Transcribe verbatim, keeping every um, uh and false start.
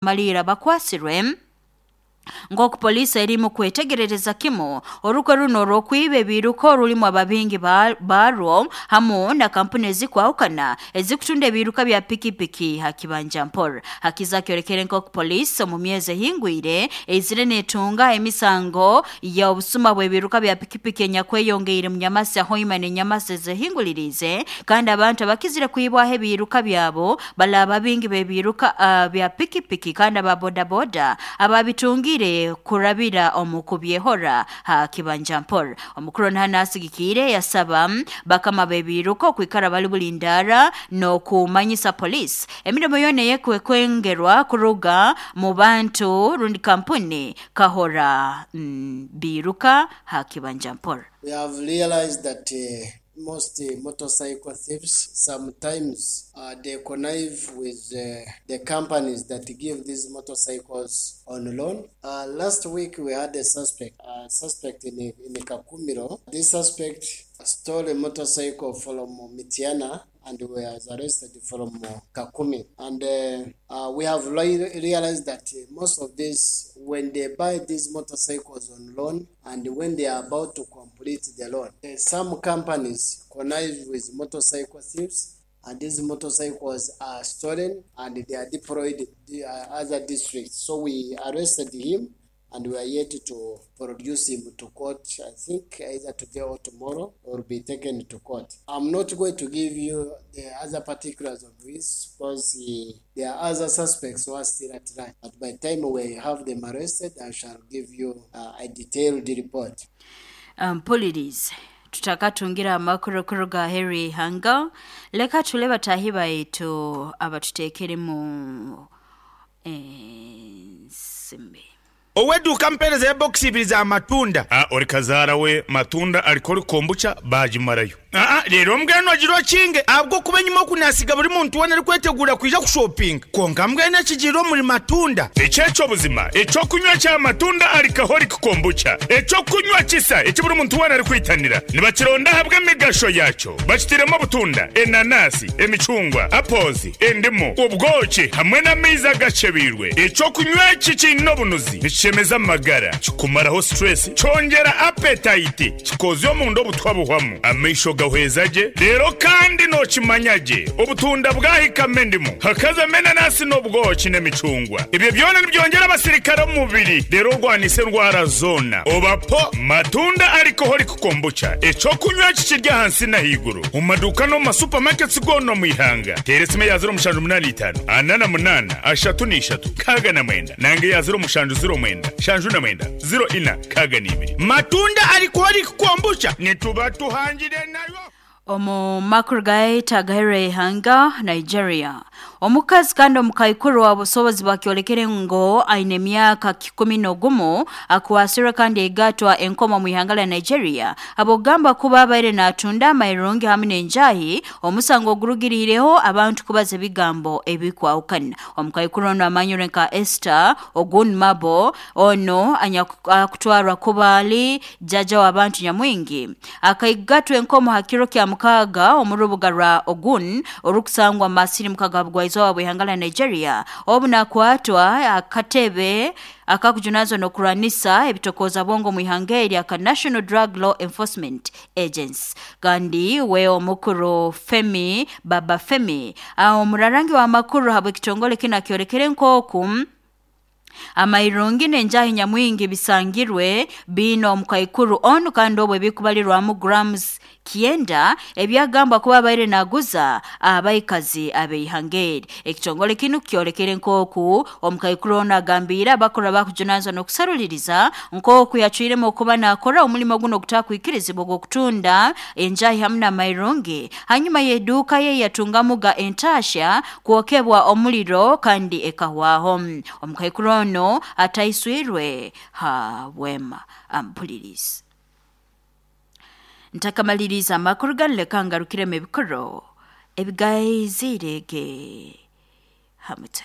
Malira bakwasirwe nk'oku poliisi erimu kwetegerereza kimu orukwe runo orw'okwiba ebiiruka orulimu ababingi barwo hamu na kampuni ezikwahukana ezikutunda ebiiruka bya pikipiki ha kibanja mpora. Hakiza kyolekere nk'oku poliisi omu myezi ehingwire eizire neetunga emisango y'obusuma bw'ebiiruka bya pikipiki enyakweyongeire mu Nyamasi, Hoima n'Enyamasi ezehinguliriize, kandi abantu abakizire kwibwaho ebiiruka byabo bali ababingi b'ebiiruka uh, bya pikipiki kandi aba bodaboda ababitungire kurabira omu kubyehora ha kibanja mpora. Omukuru nahana asigikiire yasaba bakama b'ebiiruka okwikara bali bulindara n'okumanyisa poliisi emirimo yoona eyekwengerwa kuruga mu bantu rundi kampuni kahora mm, biiruka ha kibanja mpora. We have realized that uh, most uh, motorcycle thieves sometimes uh, they connive with uh, the companies that give these motorcycles on loan. Uh, last week we had a suspect, a suspect in, in Kakumiro. This suspect stole a motorcycle from Mitiana and was arrested from Kakumi. And uh, uh, we have re- realized that uh, most of these, when they buy these motorcycles on loan and when they are about to complete the loan, uh, some companies connive with motorcycle thieves, and these motorcycles are stolen and they are deployed to other districts. So we arrested him and we are yet to produce him to court, I think either today or tomorrow, or be taken to court. I'm not going to give you the other particulars of this because uh, there are other suspects who are still at large. But by the time we have them arrested, I shall give you uh, a detailed report. Um, Mpulirize, tutakatungira amakuru kuruga Harry Hanga, leka tule batahi baitu abatuteekeremu ensimbi. Owedduuka, mpeereza ebokisi ibiri za matunda. Ah, ori kazaara we matunda alikori kombucha bagimarayo. Aa, leero mbwenu ogira okinge ahabw'okuba enyuma okunasiga buri muntu weena arikwetegura kwija kushopinga, konka mbwenu ekigiire omuri matunda. Ekyekyo buzima ekyokunywa kya matunda alikaholic kombucha, ekyokunywa kisa eki buri muntu weena arikwitanira, nibakironda ahabw'emigasho yakyo. Bakitiremu obutunda, enanasi, emicungwa, apozi, endimu, obwoki hamwe n'amaizi agacebiirwe. Ekyokunywa eki kiine obunuzi, nikishemeza amagara, kikumaraho stress, kyongera appetite, kikozya omunda obutwa buhwamu, amaisho gahweza gye. Rero kandi nokimanya gye, obutunda bwahikamo endimu, hakazamo enanasi n'obwoki n'emicungwa, ebyo byona nibyongera abasirikare omu mubiri, rero orwanisa endwara zoona. Obapo matunda alcoholic kombucha, ekyokunywa kikirya ahansi n'ahaiguru mu maduuka no mu masupamaketi goona omu ihanga. Teera esimu ya zero mushanju munaana itaano ana na munaana ashatu n'ishatu kaaga na mwenda, nange ya zero mushanju zero mwenda shanju na mwenda zero ina kaaga n'ibiri. Matunda alcoholic kombucha, nituba tuhangire nayo. Omu makuru gaita agahere ihanga Nigeria, omukazi kandi omukaikuru wa busobozi bakyolekere ngo aine emyaka kikumi n'ogumu akwasirwe kandi egatwa enkomo mu ihanga lya Nigeria abogamba kuba abaire natunda amairungi hamwe n'enjahi, omusango ogurugiriireho abantu kubaza ebigambo ebikwahukana. Omukaikuru ono amanyirwe nka Esther Ogunmabo, ono akutwarwa kuba ali jaja w'abantu nyamwingi, akaigatwa enkomo ha kiro kya mukaaga omu rubuga rwa Ogun orukusangwa masiri mukaga bugwaizooba bw'ihanga lya Nigeria, obu nakwatwa akatebe akakujunazwa n'okurwanisa ebitokooza bwongo mu ihanga eri aka National Drug Law Enforcement Agency. Kandi we omukuru Femi Baba Femi, omurarangi w'amakuru habw'ekitongole kinu, akyolekere nk'oku amairungi n'enjahi nyamwingi bisangirwe biine omukaikuru onu, kandi obwo ebikubalirwamu grams kyenda ebyagambwa kuba abaire naguza abaikazi ab'eihanga eri. Ekitongole kinu kyolekere nk'oku omukaikuru onu agambiire abakora bakujunanizwa n'okusaruliriza nk'oku yacwiremu okuba nakora omulimo guno ogutakwikirizibwa ogw'okutunda enjahi hamu n'amairungi hanyuma y'eduuka ye yatungamuga entasha kwokebwa omuliro kandi ekahwaho. Omukaikuru ono ataiswirwe ha bwema. Ampulirizi, ntakamaliriza amakuru ganu, leka ngarukiremu ebikoro ebigaizirege hamute.